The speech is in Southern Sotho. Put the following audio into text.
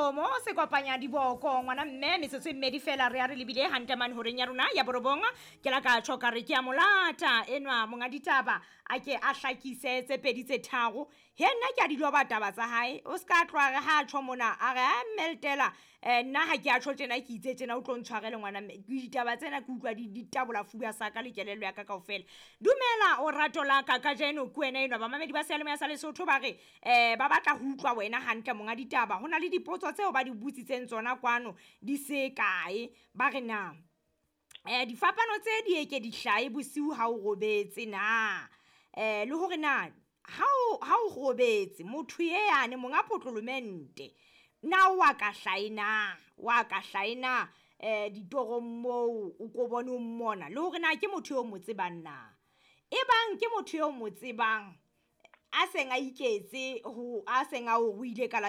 Kgomo se kopanya diboko ngwana mme metsotso e mmedi fela re ya re lebile hantle mane horeng ya rona ya borobong. Ke la ka tjho ka re ke a molata enwa monga ditaba a ke a hlakise tse pedi tse tharo. He nna ke a di loba taba tsa hae, o ska tloha re ha tjho mona a re a mmeltela nna ha ke a tjho tjena ke itse tjena o tlo ntshwarele ngwana mme. Ditaba tsena ke utlwa di tabola fuba sa ka le kelello ya ka kaofela. Dumela o rato la ka kajeno ke wena enwa bamamedi ba seyalemoya sa Lesotho ba re ba batla ho utlwa wena hantle monga ditaba. Ho na le dipotso tseo ba di botsitseng tsona kwano di se kae. Ba re na difapano tse di eke di hlahe bosiu ha o robetse na? Le hore na ha o robetse motho ye yane monga potlolomente na wa ka hlahe na, wa ka hlahe na ditorong moo o ko bone o mmona le hore na ke motho eo mo tsebang na? E bang ke motho eo mo tsebang a seng a iketse ho a seng a o ruile ka la.